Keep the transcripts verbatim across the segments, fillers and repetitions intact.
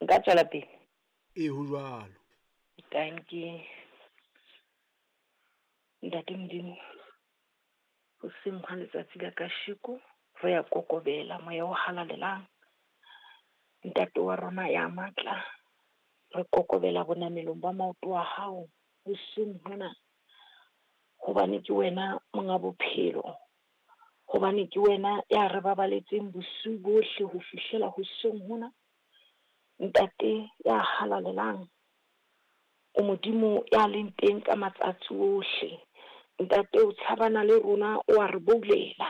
Nka tswela pele? Ee, ho jwalo. Dankie. Ntate Modimo, hoseng hwa letsatsi la kasheko re ya kokobela moya o halalelang. Ntate wa rona ya matla, re kokobela bonamelong ba maoto a hao hoseng hona, hobane ke wena monga bophelo, hobane ke wena ya re babaletseng bosiu bohle ho fihlela hoseng hona. Ntate ya halalelang, o Modimo ya leng teng ka matsatsi ohle. Ntate o tshabana le rona, o a re boulela.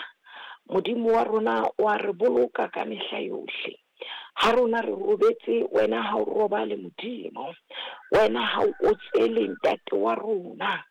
Modimo wa rona o a re boloka ka mehla yohle. Ha rona re robetse, wena ha o robale Modimo. Wena ha o otsele ntate wa rona.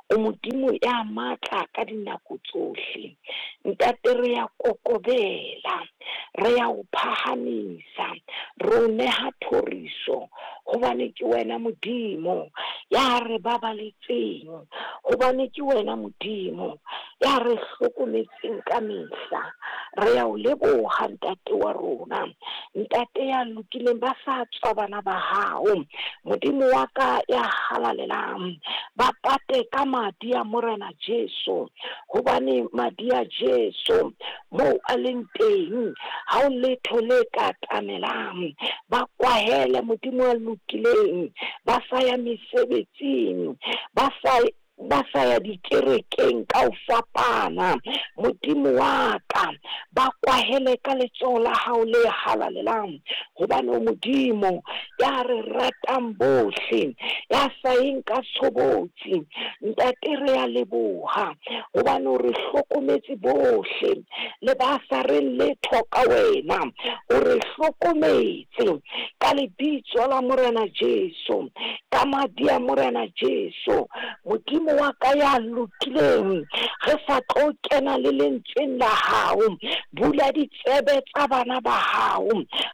O Modimo ya matla ka dinako tsohle. Ntate re ya kokobela, re ya o phahamisa, re o neha thoriso, hobane ke wena Modimo ya re babaletseng, hobane ke wena Modimo ya re hlokometseng ka mehla. Re ya o leboha ntate wa rona, ntate ya lokileng, ba sa tswa bana ba hao, Modimo wa ka ya halalelang, ba pate ka madi a Morena Jesu, hobane madi a Jesu moo a leng teng ha o letho le ka tamelang. Ba kwahele Modimo a lokileng, ba sa ya mesebetsing, ba sa ba sa ya dikerekeng ka ho fapana. Modimo wa ka, ba kwahele ka letsoho la hao le halalelang, hobane o Modimo ya re ratang bohle, ya sa yeng ka tshobotsi. Ntate re a leboha, hobane o re hlokometse bohle, le ba sa reng letho ka wena, o re hlokometse ka lebitso la Morena Jesu, ka madi a Morena Jesu. Modimo wa ka ya lokileng, re sa tlo kena le lentsweng la hao, bula ditsebe tsa bana ba hao,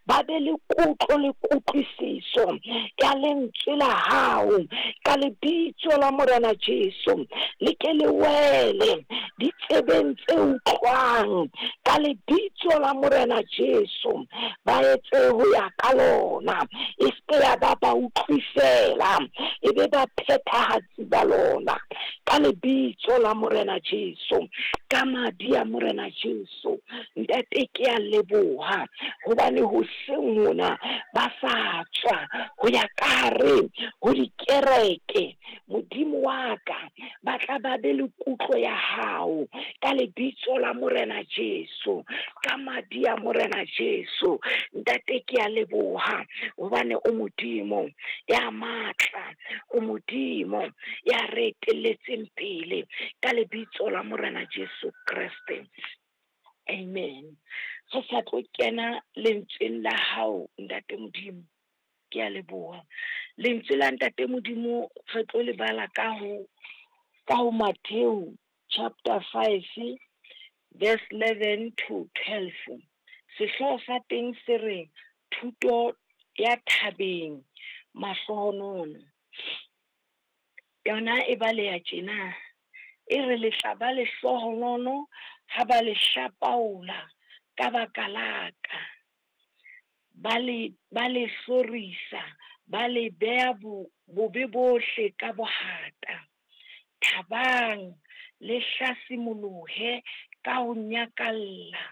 ba be le kutlo le kutlwisiso ya lentswe la hao, ka lebitso la Morena Jesu. Le ke le wele ditsebeng tse utlwang, ka lebitso la Morena Jesu. Ba etse ho ya ka lona, e se ya ba ba utlwisela, e be ba phethahatsi ba lona, ka lebitso la Morena Jesu, ka madi a Morena Jesu. Ntate ke a leboha, hobane hoseng hona ba sa tswa ho ya ka hare ho dikereke. Modimo wa ka, ba tla ba be le kutlo ya hao, ka lebitso la Morena Jesu, ka madi a Morena Jesu. Ntate ke a leboha, hobane o Modimo ya matla, o Modimo ya re etelletseng pele, ka lebitso la Morena Jesu Kreste. Amen. Re sa tlo kena lentsweng la hao Ntate Modimo, ke a leboha. Lentswe la Ntate Modimo re tlo le bala ka ho, ka ho Matthew chapter five verse eleven to twelve. Sehlooho sa teng se re thuto ya thabeng mahlohonolo. Yona e baleha tjena, e re le tla ba lehlohonolo ha ba le hlapaola ka baka la ka, ba le, ba le hlorisa, ba le beha bo-, bobe bohle ka bohata. Thabang le hlasimolohe ka ho nyakalla,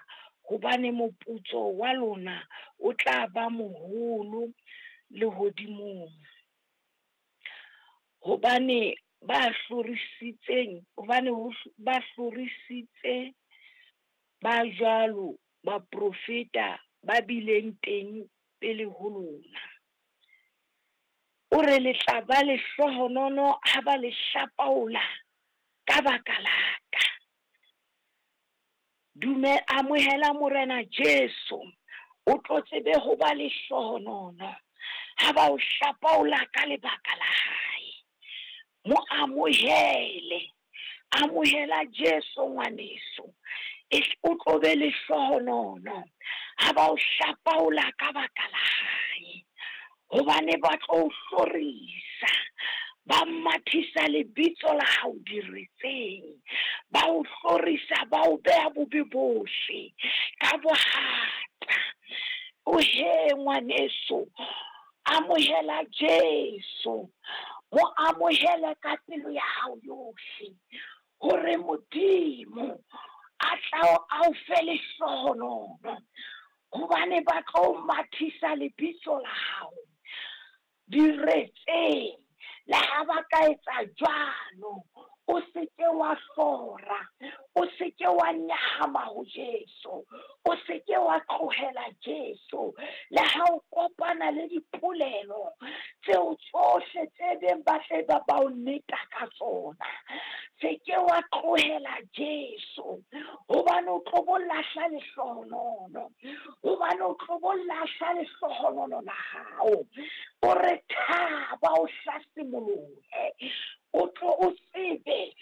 hobane moputso wa lona o tla ba moholo lehodimong. Hobane ba hlorisitseng, hobane ho hlo-, ba hlorisitse ba jwalo baprofeta ba bileng teng pele ho lona. O re le tla ba lehlohonolo ha ba le hlapaola ka baka la ka. Dume, amohela Morena Jesu, o tlo tsebe ho ba lehlohonolo ha ba o hlapaola ka lebaka la hae. Mo amohele, amohela Jesu ngwaneso, e o tlo be lehlohonolo ha ba o hlapaola ka baka la hae. Hobane ba tlo o hlorisa, ba mathisa lebitso la hao diretseng, ba o hlorisa, ba o beha bobe bohle ka bohata. O he ngwaneso, Amohela Jesu, mo amohele ka pelo ya hao yohle, hore Modimo a tla a o fe lehlohonolo, hobane ba tlo mathisa lebitso la hao diretseng. Le ha ba ka etsa jwalo, o se ke wa hlora, o se ke wa nyahama ho Jesu, o se ke wa tlohela Jesu. Le ha o kopana le dipolelo tseo tsohle tse beng ba tle ba ba o neta ka tsona, se ke wa tlohela Jesu, hobane o tlo bo lahla lehlohonolo, hobane o tlo bo lahla lehlohonolo la hao. O re thaba, o hlasimolohe, o tlo o tsebe